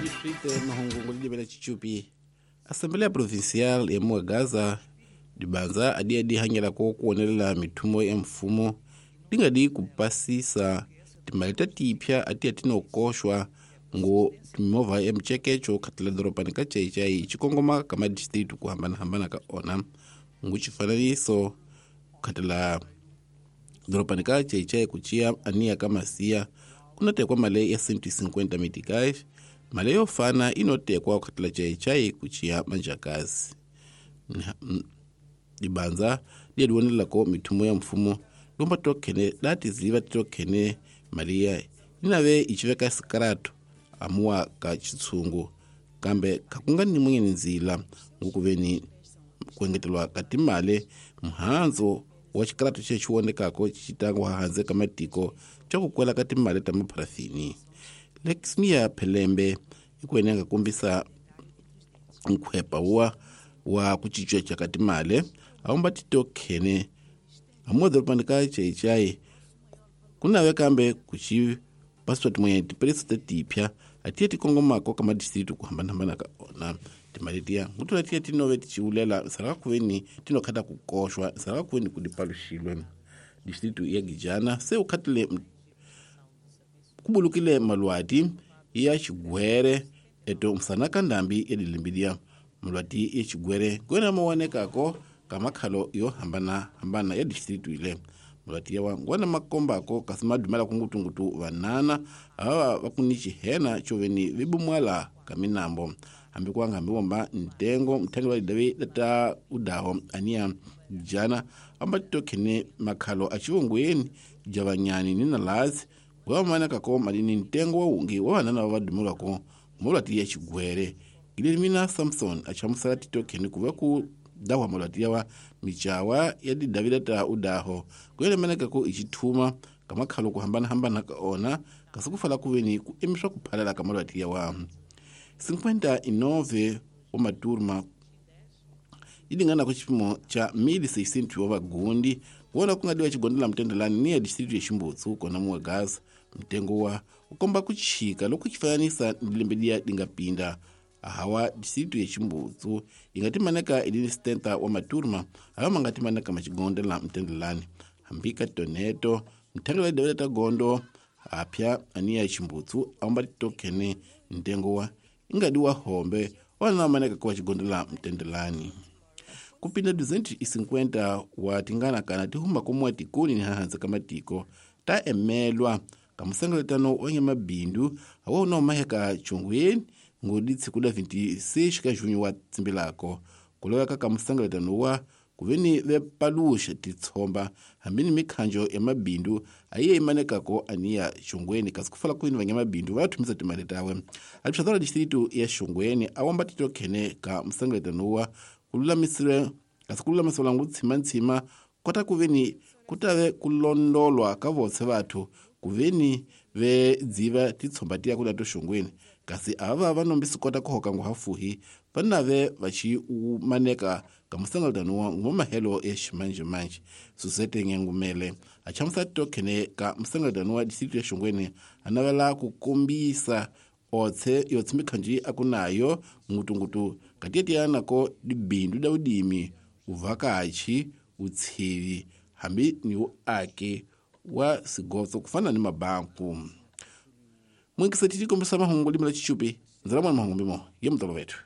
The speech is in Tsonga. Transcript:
Distrito mahungu ngolidibela chichupi. Assembleia Provincial ya Muagaza dibanza adi adi hanyela ko kuonelela mithumo ya mfumo dingadi kupasisa timali ta tipya ati atinokoxwa ngo mimovha ya micekeco khatela doropani ka Chaichai xikongoma ka madistritu ku hambanahambana ka ona ngu xifananiso khatela doropani ka Chaichai ku ciya aniya ka Masiya kunotekwa mali ya 150 meticais, mali yo fana inotekwa khatela Chaichai ku ciya Manjakazi. Dibanza liya mithumo ya mfumo lomba tokhene latiziva titokhene mali ya inave iciveka sikaratu amuwa ka chitsungu kambe kakunga ni mwenyeni nzila ngukuveni kuengetelwa ka timali muhandzo wa xikaratu xe xiwonekako xitangwa hanze ka matiko xa ku kwela ka timali ta mapharafini. Lexmia Phelembe ikuene nga kombisa nkhwepa wa ku cinca ka timali awumba titokhene amuwa doropani ka Chaichai kunave kambe kuxi passport mwenye tipirisi ta tipya atiye tikongomako ka madistritu ku hambanahambana ka ona timali tiya ngutula tiya tinove ticiulela nsala kuveni tinokhata ku koxwa nsala kuveni ku dipaluxilwe. Distritu ya Gijana se ukhatile kubulukile malwati ya xigwere eto msana ka ndambi ya dilimbidia malwati ya xigwere ngwena mawanekako ka makhalo yo hambanahambana ya distritu ile. Malwati yawa ngwana makombako kasi madumela kungutungutu vanana ava vakuni xihena coveni vibumwala ka minambo hambi kuanga hambi womba ntengo mthangi wa lidavi lata udaho aniya jana amba titokhene makhalo a xivongweni javanyani ni nalazi ngwavamanekako malini ntengo wa wungi wa vanana va vadumelwako malwati ya xigwere. Guilhermina Samson achamusala titokhene kuva ku dahwa malwati yawa micawa ya didavi lata udaho kuyelemanekako icithuma ka makhalo ku hambanahambana ka ona kasi kufala kuveni ku emiswa ku phalala ka malwati yawa. 59 wa maturma ilingana ku xipimo xa 1600 wa vagundi kuona ku nga diwa xigondela mtendelani ni ya distritu ya Ximbutsu kona Muagaza. Mtengo wa ukomba ku chika loko xifananisa ni lembe liya linga pinda hawa distritu ya Ximbutsu yi nga timaneka ilini 70 wa maturma hawa ma nga timaneka maxigondela mtendelani hambi ka toneto mthangi wa lidavela ta gondo apya aniya Ximbutsu awumba titokhene ntengo wa ingadi wa hombe wana maneka kwa xigondela mtendelani. Kupinda 250 wa tingana kana tihuma komuwa tikoni ni hahanze ka matiko ta emelwa ka musengeletano wa nyamabindu awa una umaheka chongweni ngodi tsikuda 26 ka junho wa tsimbilako kuloweka ka musengeletano wa kuveni vepaluxa titshomba hambi ni mikhanjo ya mabindu ayiye imanekako aniya Xongweni kasi kufala kwini vanyamabindu va thumisa timali tawe. Alipxatora distritu ya Xongweni awamba titokhene ka musengeletano wa kululamisile kasi kululamisela ngu tshimanthsima kota kuveni kutave kulondolwa ka votse vathu kuveni ve dziva titshomba tiya kula to Xongweni kasi ava va nombisi kota ku hoka nguhafuhi va nave va xi maneka ka musengeletano wa ngomahelo ya ximanjhemanjhe. Susete Ngengumele a chamusa titokhene ka musengeletano wa distritu ya Xongweni a navela ku kombisa otse yotse mikhanjo a ku nayo ngutungutu katiya nako dibindu da udimi uvakachi utshivi hambi ni uaki wa sigotso kufana ni mabanku. Mwingiseti tikombisa mahungu limela chichupi nzala mwana mahungu mbimo ye mutolo wetu.